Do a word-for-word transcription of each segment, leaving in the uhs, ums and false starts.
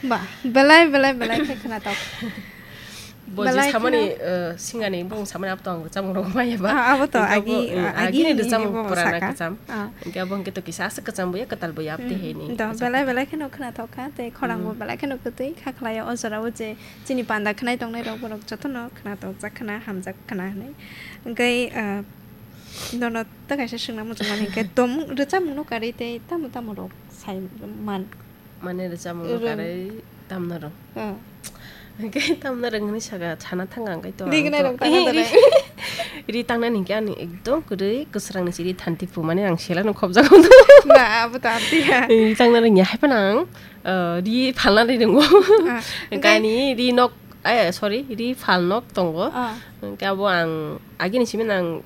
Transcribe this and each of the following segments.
Ba, belai, belai, belai khe khwnatok. Bo je Belai samani, kheno. Eh, singani bung samani abo to ang rwchapmung rok maya ba. Ah, abo to Hingke abo, agi, mm, ah, agi agini ni rwchapmung bo purana saka. Kwcham. Ah. Hingke abo hingke to kisa aswk kwcham bo ya, kwtal bo ya, abte Mm, hini do, kwcham. Belai, belai kheno khwnatok kha, tei khorang bo Mm. belai kheno kwtwi kha khlai o, o jora o je chini panda khnai tongnai rok borok jotono khwnatok jak khna, hamjak khna hinwi. Hingke, ah, nono ta kaisa swngna muchungmani hingke tomung, rwchapmung no karwi tei tamo tamo rok sai man. Mane rwchapmung no Rwng. Karwi tamna rwng. Oh. Hingke tamna rwng hinwi saka sana thang ang kai to Ri ang gnai to. Rwng tangna Ri, ri, ri. Ri tangnani hingke ani ekdom kwrwi kwsrang ni siri thanti pu mane ang sela no khobjak. Na, abo ta amtiya. Ri tangna rwng ya hai phano ang, eh, ri phalna ri rwngo. Ah, hingke hingke ani ri nok, eh, sorry, ri phal nok tongo. Ah. Hingke abo ang agini simi nang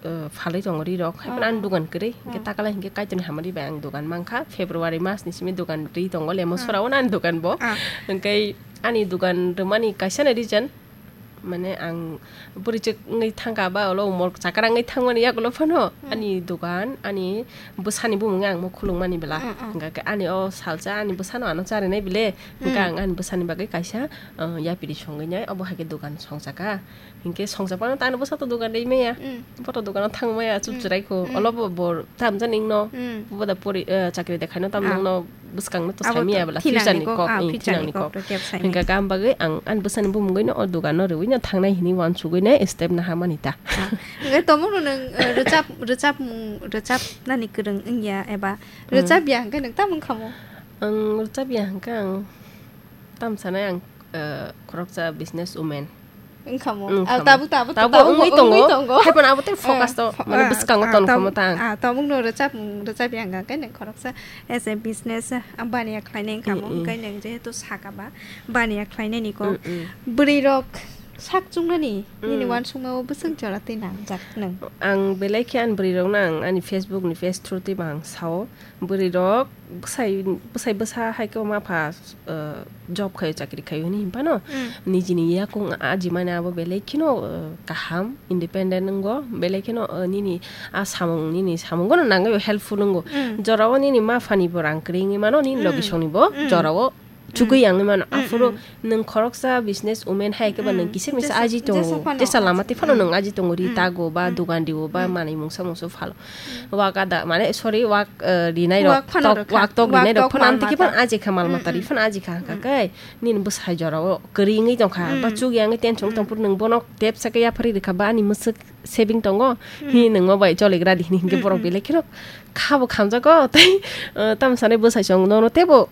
eh, phalwi tongo ri rok. Hai phano ani Ah. Dogan kwrwi. Hingke Ah. Takala hingke Kaitorni hamari bai ang dogan mankha. February mas ni simi dogan ri tongo. Lemo Ah. Sora o ani dogan bo. Ah. Hingke ani dogan rwmani kaisa ni reason, mane ang bwrwi chwk wngwi thangkha ba ulo umor chakra wngwi thangmani yagulo phano Hmm. Ani dogan, ani bwsani bumung ang mo khulungmani bela. Hmm, hmm. Hingke ani o salsa ani bwsano ano charinai bile. Hingke Hmm. Ang ani bwsani bagwi kaisa, eh, yapiri songwi nai. Obo hai khe dogan songchakha. Hinkhe songchapano tano bwsa to dogan rwi maya. Mm. Bo to dogano thang maya, chup Mm. chwrai kho. Mm. Olo bo bor tam jani wngno. Mm. Bo da pori, eh, chakri de khaino tam Ah. Nokno bwskangno to Abo sai maya to bwla, thinangni future ni kok, kok, ah, eh, future ni thinangni kok. Kok to kep sai Hinkhe maya. Kam bagwi ang ani bwsani bumungwi no o dogano rwwi no thangnai hinwi uansugwi no step naha mani ta. Ah. Hinkhe tomo no nwng, eh, rwchap, rwchapmung, rwchapnani kwrwng wngya eba Mm. rwchapya hinkhe nwng tamo wngkha mo? Ang rwchapya hinkhe ang tam sanai ang, eh, khoroksa business woman. Wngkha mo? Wngkha Ah, mo. Tabuk, tabuk, Tabuk tabuk wngwi wngwi tongo. Tongo. Hai phano abo tei focus Eh, to, mane ah, bwskango ah, tongo tabuk, mo ta ang. Ah, tabuk no rwchap, rwchap yang khe neng khoroksa as a business, ah, baniya khlainai wngkha mo. Mm, mm. Hwnkhe neng jehetu saka ba baniya khlainai ni kok. Mm, mm. Bwrwi rok sak chungnani nini Mm. Uansukma o bwswk jora tei nangjak nung? Ang belai khe ani bwrwi rok no ang ani Facebook ni page through twi bo ang sao. Bwrwi rok bwsai, bwsai bwsa hai khe ma pha, eh, job khaio, chakri khaio hinwi hinphano Mm. nijini yakung ajimani abo belai kheno, eh, kaham, independent wngo, belai kheno, eh, nini a samung, nini samungo no nangwi helpful wngo. Mm. Jorao nini ma phani bo rang kwrwi wngwi mano, nini Mm. logisongni bo Mm. jorao chugwi Mm. Yang wngwi mano. Mm, Aphuru mm. Nwng khoroksa business woman hai khe ba nwng Mm. kisa misa Jesa, aji tongo. Jesa phano Jesa aji. Lama twi phano Mm. Nwng aji tongo, ri Mm. Tago ba Mm. Dugan rio ba Mm. Manwi mungsa mungsa phalo. Mm. Wak ada, mane, sorry, wak, eh, rinai rok, Wak phano tok, rwkha. Wak tok Wak rinai rok tok phano mal amtwi khe phano mata. Aji kha mal Mm, mata ri mm. Phano aji kha Mm. Kai. Nini bwsai jorao kwrwi wngwi tongkha. Mm. Ba chuk yang tension Mm. tongphuru nwng bono tep sa khe yaphari rwkha ba ani mwswk saving tongo. Mm. Hi nwng ma bai choligra di hini hinkhe Mm, borok mm. Belai kheno khabo khamjago tei, eh, tamo sanai bwsai chwng nono tebo